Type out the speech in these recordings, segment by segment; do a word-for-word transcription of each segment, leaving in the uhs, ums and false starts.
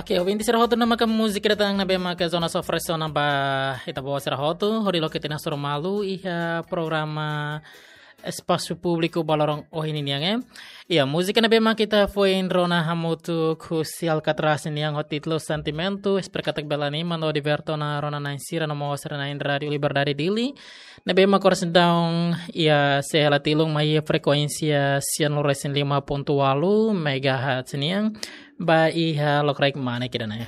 Oke, ouvinte sira hotu, ne'e maka múzika ida tan ne'ebé maka Jonas oferese ona ba ita-boot sira hotu, hodi loke tiha ona suru malu iha programa Espasu Públiku ba loron ohin nian, eh. Iha múzika ne'ebé maka ita foin rona hamutuk husi Alcatraz nian ho títulu Sentimentu, espera katak bele anima no diverte ona rona-na'in sira no mós sira-na'in Rádiu Liberdade Dili. Ne'ebé maka oras daudaun iha C L T Lung mai iha frekuénsia sianulu resin lima pontu ualu megahertz nian. Ba iha lokraik mane ida-ne'e.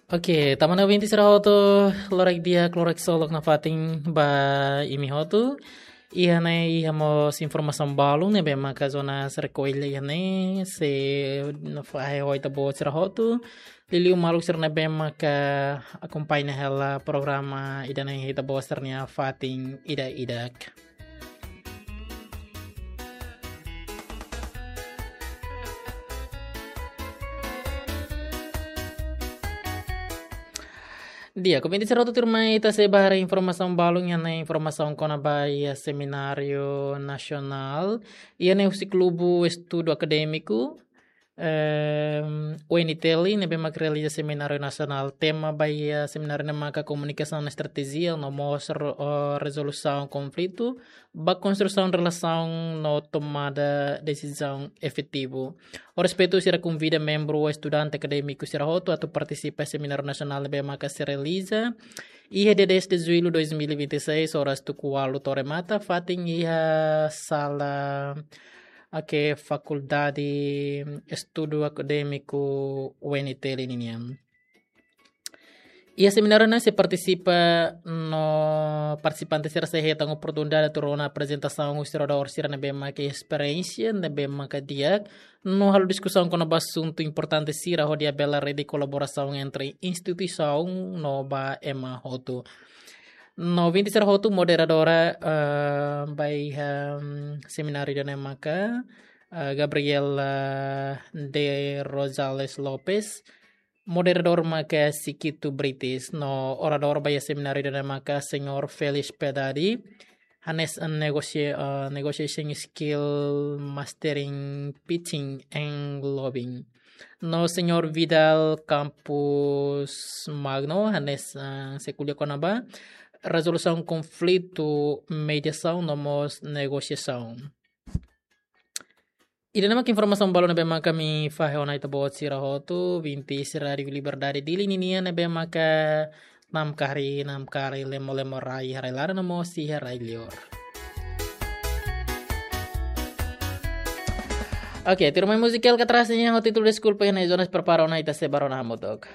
Oke, tama ona ouvinte sira hotu, loraik di'ak, loraik solok nafatin ba imi hotu. Iha ne'e iha mós informasaun balun ne'ebé maka Jonas rekolla iha ne'e, sei fahe ho ita-boot sira hotu. Liuliu maluk sira ne'ebé maka akompaña hela programa ida-ne'e iha ita-boot sira-nia fatin ida-idak. Di'ak, ouvinte sira hotu, tuirmai ita sei ba haree informasaun balun iha ne'e, informasaun kona-ba iha semináriu nasionál iha ne'e husi Klubu Estudu Akadémiku, ehm, U N T L, ne'ebé maka realiza semináriu nasionál. Tema ba iha semináriu ne'e maka komunikasaun estratéjia no mós ro-, eh, rezolusaun konflitu ba konstrusaun relasaun no tomada desizaun efetivu. Ho respeitu sira konvida membru ou estudante akadémiku sira hotu atu partisipa semináriu nasionál ne'ebé maka sei realiza iha dia dez de julho dois mil e vinte e seis, oras tuku ualu to'o remata, fatin iha sala, oke, Fakuldade Estudu Akadémiku U N T L ninian. Iha semináriu ne'e sei partisipa no partisipante sira sei hetan oportunidade atu rona aprezentasaun husi oradór sira ne'ebé maka esperiénsia, ne'ebé maka di'ak, no halo diskusaun kona-ba asuntu importante sira hodi labele rede kolaborasaun entre instituisaun no ba ema hotu. No ouvinte sira hotu, moderadora, eh, ba iha, mm, semináriu ida-ne'e maka, eh, Gabriela de Rosales Lopes, moderadór maka Sikitu Britis, no oradór ba iha semináriu ida-ne'e maka Señór Felix Pedadi, hanesan negocia-, eh, negotiation skill, mastering, pitching and lobbying. No Señór Vidal Campos Magno, hanesan, eh, sei ko'alia kona-ba rezolusaun konflitu, mediasaun no mós negosiasaun. Ida-ne'e maka informasaun balun ne'ebé maka ami fahe ona ita-boot sira hotu, ouvinte sira Rádiu Liberdade Dili ninian ne'ebé maka namkari, namkari, lemo-lemo rai iha rai laran no mós iha rai liur. Oke, tuirmai múzika Alcatraz nian ho títulu Deskulpa iha ne'e, Jonas prepara ona, ita sei ba rona hamutuk.